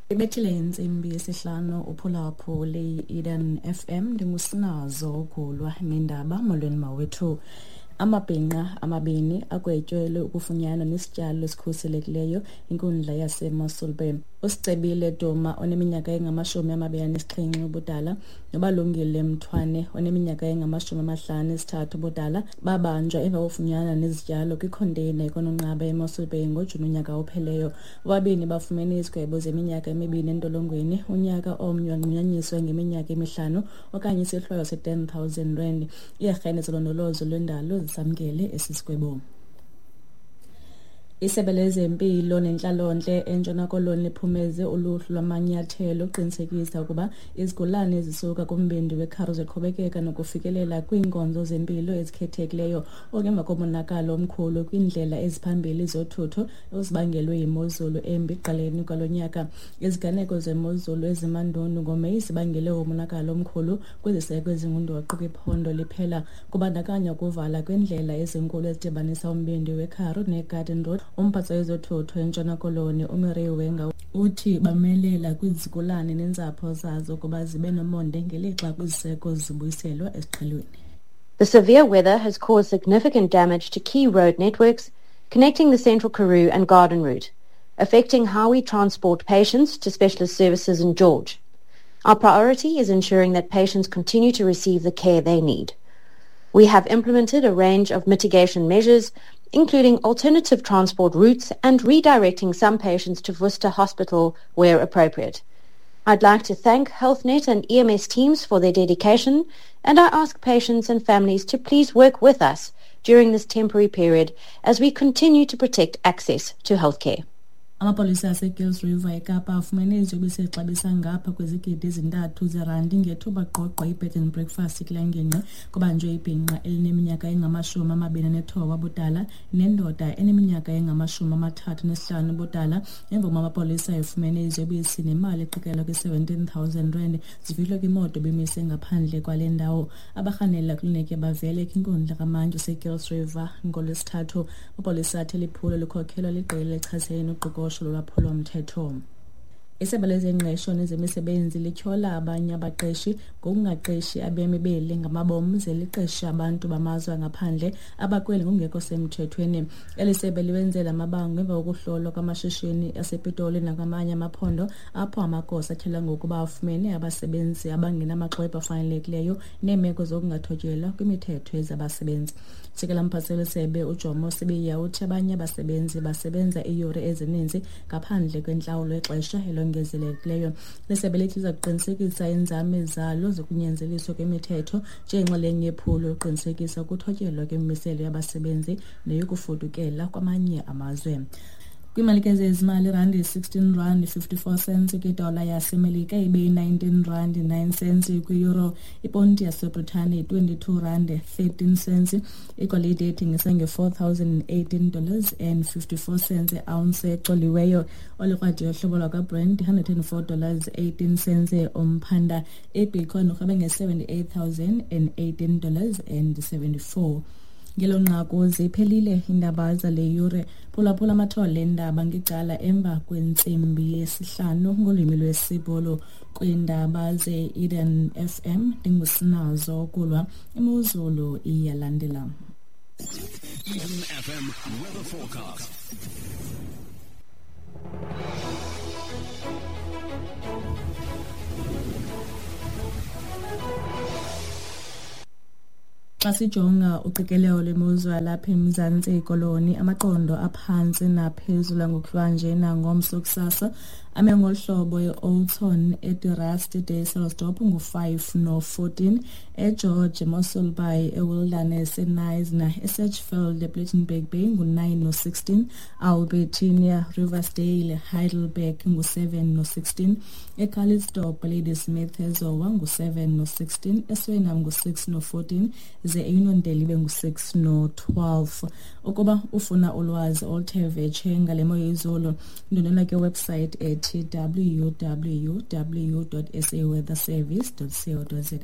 Ibethile intsimbi yesihlanu uphulaphuli Eden FM, ndingusinazo ugulwa nendaba. Molweni mawethu. Amabhinqa amabini agwetyelwe ukufunyanwa nesityalo esikhuselekileyo inkundla yaseMossel Bay. Usicebile Duma oneminyaka engama-27 ubudala noBalungile Mthwane oneminyaka engama-53 ubudala babanjwa emva kokufunyanwa nezityalo kwikhonteyina eKononqaba eMossel Bay ngoJuni unyaka opheleyo. Bobabini bafumene izigwebo zeminyaka 2 entolongweni, unyaka omnye wanqunyanyiswa ngeminyaka 5 okanye isohlwayo se-10 000 rand. Iiarhente zolondolozo lwendalo zisamkele esi sigwebo. Isebe lezempilo nentlalontle eNtshona Koloni liphumeze uluhlu lwamanyathelo ukuqinisekisa ukuba izigulane ezisuka kumbindi weKharu ziqhubekeka nokufikelela kwiinkonzo zempilo ezikhethekileyo, oku emva komonakalo omkhulu kwiindlela eziphambili zothutho ozibangelwe yimozulu embi ekuqaleni kwalo nyaka. Iziganeko zemozulu ezimandundu ngoMeyi zibangele umonakalo omkhulu kwiziseko ezingundoqo kwiphondo liphela, kubandakanya ukuvala kweendlela ezinkulu ezidibanisa umbindi weKharu neGarden Road. Umphathiswa wezothutho eNtshona Koloni uMurray Wenger uthi bamelela kwizigulane neentsapho zazo ukuba zibe nomonde ngelixa kwiziseko zibuyiselwa esiqhelweni. The severe weather has caused significant damage to key road networks connecting the Central Karoo and Garden Route, affecting how we transport patients to specialist services in George. Our priority is ensuring that patients continue to receive the care they need. We have implemented a range of mitigation measures, including alternative transport routes and redirecting some patients to Worcester Hospital where appropriate. I'd like to thank HealthNet and EMS teams for their dedication, and I ask patients and families to please work with us during this temporary period as we continue to protect access to healthcare. Amapolisa aseGills River eKapa afumene iziyobisi exabisa ngapha kwezigidi 3 zerandi ngethuba gqogqo i-bed and breakfast kule ngingqi. Kubanjwe ibhinqa elineminyaka engama-29 ubudala nendoda eneminyaka engama-35 ubudala emva kokuba amapolisa efumene iziyobisi nemali eqikelelwa kwi-17 000 rand zifihlwe kwimoto ebimise ngaphandle kwale ndawo. Abarhanela kliniki bavele kwinkundla kamantyi useGills River ngoLwesithathu. Amapolisa athi liphulo likhokhelwa liqela elichasene noqoqosho lolwaphulomthetho. Isebe lezengqesho nezemisebenzi lityhola abanye abaqeshi ngokungaqeshi abemi beli ngamabom ze liqeshe abantu bamazwe angaphandle abakweli ngokungekho semthethweni. Eli sebe liwenzela amabango emva kokuhlolwa kwamashishini asePitoli nakwamanye amaphondo apho amagosa atyholwa ngokuba afumene abasebenzi abangenamaxwebhu afanelekileyo neemeko zokungathotyelwa kwimithetho yezabasebenzi. Sekela mphathiswa wesebe uJomo Sibiya uthi abanye abasebenzi basebenza iiyure ezininzi ngaphandle kwentlawulo yexesha elongezelekileyo. Lisebe lithi liza kuqinisekisa iinzame zalo zokunyanzeliswa kwemithetho njengenxalenye yephulo lokuqinisekisa ukuthotyelwa kwemimiselo yabasebenzi neyokufudukela kwamanye amazwe. Kwiimalike zezimali, irandi yi-16 rand 54 cents kwidola yaseMelika, ibe yi-19 rand 9 cents kwi-euro, iponti yaseBritane yi-22 rand 13 cents, igolide ethengisa nge-$4,018 dollars and 54 cents i-ounce ecoliweyo, olukrwada yohlobo lwakwaBrent $104 dollars 18 cents umphanda, ibitcoin urhwebe nge-$78,018 dollars and 74. Ngelo nqaku ziphelile iindaba zale yure. Phulaphula amathole eendaba ngecala emva kwentsimbi yesihlanu ngolwimi lwesiBhulu. Kwiindaba ze-Eden FM ndingusinazo kulwa. Imozulu iyalandela. Eden FM weather forecast. Xa sijonga uqikelelo lwemozulu yalapha eMzantsi Koloni, amaqondo aphantsi naphezulu angokuhlwanje nangomso kusasa ame ngolu hlobo: eOudtshoorn, eDe-Rust, eDysselsdorp ngu-5 no-14, eGeorge, eMossel Bay, eWilderness, eKnysna, eSedgefield, ePlettenberg Bay ngu-9 no-16, Albertinia, Riversdale, Heidelberg ngu-7 no-16, eCalitzdorp, Ladysmith, eZowa ngu-7 no-16, eSuriname ngu-6 no-14, ze eUniondale ibe ngu-6 no-12. Ukuba ufuna ulwazi oluthe vetshe ngale mo yezulu, ndwendwela kwiwebsite ethi www.saweatherservice.co.za.